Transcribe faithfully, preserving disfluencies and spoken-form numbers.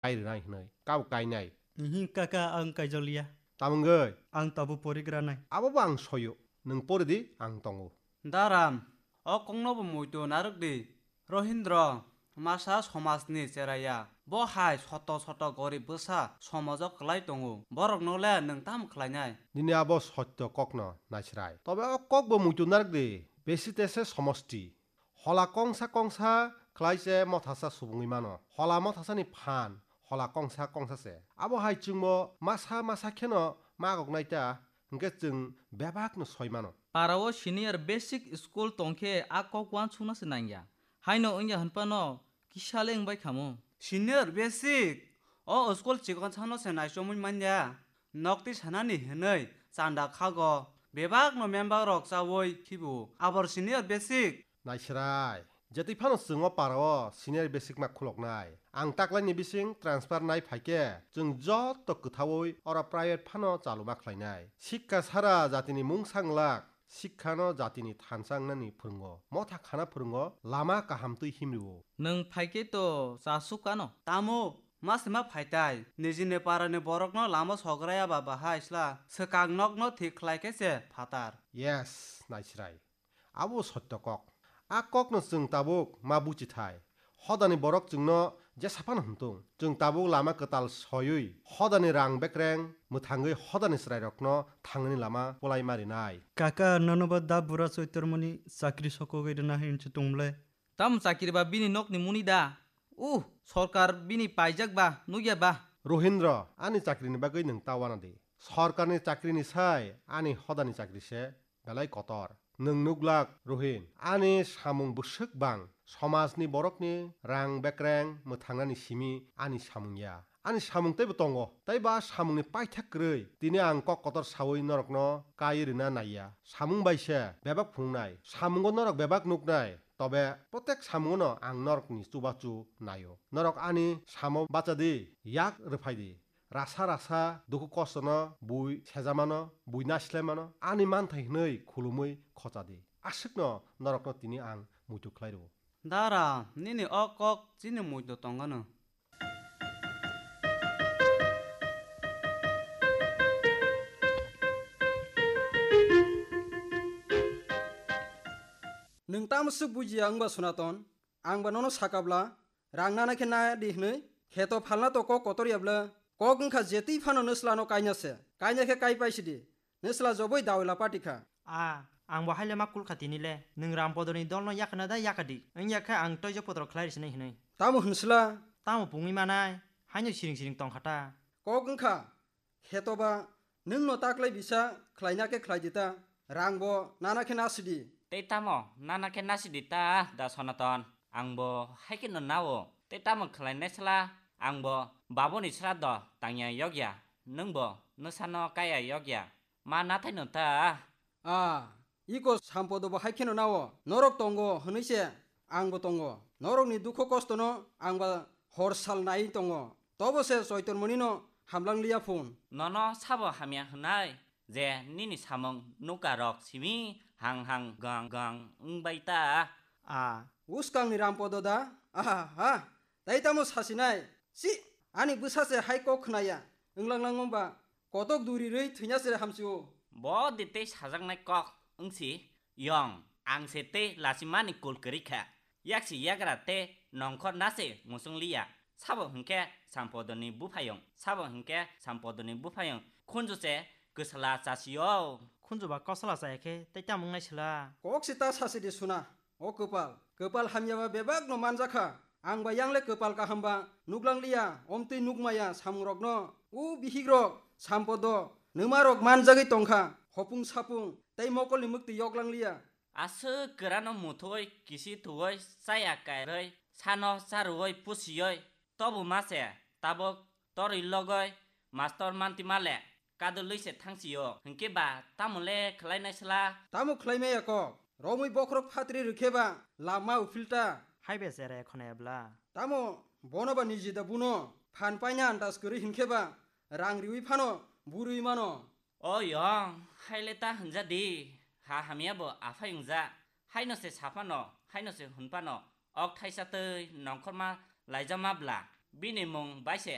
kai rwnai hwnwi kabo kainai. Ihi kaka, ang kaijakliya. Tamungwi? Ang tabuk porigranai. Abobo ang soyo. Nwng poridi, ang tongo. Daram, o koknobo muitu narwk di. Rohindro, masa somajni cheraiya. Bo hai soto soto gorib bwsa somojo kwlai tongo. Borokno le nwng tamo khlainai? Nini abo sotto kokno naisrai. Tobe o kokbo muitu narwk di. Besi tese somosti. Hola kongsa kongsa khlai se mothasa subungwi mano. Hola mothasani phan, hola kongsa kongsa se. Abo hai chwngbo masa masa kheno magoknai ta, hwnkhe chwng bebakno soi mano. Para o senior basic school tongkhe a kok uansukna se nangya. Haino wngya hwnphano kisa le wngbai khamu. Senior basic? O school chikon sano se naichomwi manya. Nokti sanani hwnwi chanda khago. Bebakno member rok chawi khibu. Abor senior basic. Naisrai, jetwi phano chwng o para o senior basic ma khuloknai. Ang taklaini bising transfer nai phaikhe, chwng joto kwthaui oro private phano chaluma khlainai. Sikka sara jatini mungsa wnglak, sikkano jatini thansa wngnani phwrwngo. Motha khana phwrwngo, lama kaham twi himrio. Nwng phaikhe to chasuk ano. Tamo, ma se ma phaitai. Nijini parani borokno lama sograya ba bahai sla. Swkang nokno thik khlai khe se phatar. Yes, naisrai. Abo sotto kok. A kokno chwng tabuk ma buchithai. Hodani borok chwngno jesa phano hwntung. Chwng tabuk lama kwtal soiwi, hodani rang bekreng mwthangwi hodani chwrairokno thangnani lama polai ma rinai. Kaka, nono ba da bura Choitormoni chakri sokogwi rwna hinwi se tongmle? Tamo chakri ba bini nokni muni da? Uh, sorkar bini paijak ba, nukya ba? Rohindro, ani chakrini bagwi nwng ta wana di. Sorkarni chakrini sai ani hodani chakri se belai kotor. Nwng nuglak, Rohin, ani samung bwswk bang, somajni borokni rang bekreng mwthangnani simi ani samung ya. Ani samung teibo tongo, tei ba samungni paithak kwrwi tini ang kok kotor saui norokno kai rwna naiya. Samung bai se bebak phunuknai, samungo norok bebak nuknai, tobe protek samungono ang norokni chubachu naio. Norok ani samo bacha di, yak rwphai di. Rasa rasa dukhu kostono bui sejamano, bui naislemano, ani manthai hwnwi khulumwi khocha di. Aswkno norokno tini ang muitu khlai rwo. Dara, nini o kok chini muitu tongano. Nwng tamo swk bujiya wngba Sonaton? Ang ba nono sakabla, rang nana khe na di hwnwi, kheto phalna to kok kotor ya bla? Kok wngkha je twi phano nwslano kaina se, kaina khe kai paisidi, nwsla joboi dawila pati kha. A, ang bo haile ma kulkha tini le, nwng Rampodorni dolno yakana da yakadi, wngya khe ang toijo potro khlai risinai hwnwi. Tamo hwnsla? Tamo pungwi manai, haino siring siring tongkha ta. Kok wngkha, Khetoba, nwngno taklai bisa khlaina khe khlai di ta, rangbo nana khe nasidi. Tei tamo nana khe nasidi ta, da Sonaton? Angbo hai kheno nao. Tei tamo khlainai sla, angbo baboni srado tangya yokya, nwngbo nwsano kaya yokya. Ma nathaino ta. A, iko Sampodobo hai kheno nao, norok tongo hwnwi se angbo tongo. Norokni dukhu kostono angba hor sal nai tongo. Tobo se Choitormonino hamlang liya phun. Nono sabo hamya hwnai je nini samung nukarok simi hang hang gang gang wngbai ta? A, uskangni Rampodo da? Aha ha! Tai tamo sasinai? Si! Ani bwsa se hai kok khnaya. Wnglang lang wngba kotok duri rwi thwina se hamsio. Bo de tei sajaknai kok wngsi yong, ang se tei lachimani kul kwrwi kha. Yaksi yagra tei nongkhor na se muchung liya. Sabo hwnkhe Sampodoni buphayung, sabo hwnkhe Sampodoni buphayung. Khunju se kwsala chasio. Khunju ba kosala chaya khe tei tamo wngnai sela? Kok se ta sasi di suna. O kwpal, kwpal hamyaba bebakno manjakha. Ang ba yangle kwpal kahamba nuklangliya, omtwi nukmaya samungrokno. O bihikrok, Sampodo, nwmarok manjagwi tongkha, hopung sapung tei mokolni mwktwi yoklangliya. Aswk kwrano muthwi kisi thuwi chaya kairwi sano charwwi pusiwi tobu ma se tabuk torwi logwi mastor manti male. Kadulwi se thangsio, hwnkhe ba tamo le khlainai sla? Tamo khlaimaya kok? Romwi bokhorok phatri rwkhe ba lama uphilta. Hai be chera ekhonaya bla? Tamo bono ba niji da buno phan paina andas kwrwi hinkhe ba rang riwi phano burwi mano. O yong, hai le ta hwnja di, ha hamya bo aphai wngja, haino se saphano, haino se hwnphano, ok thaisa twi nongkhorma laijama bla, bini mung bai se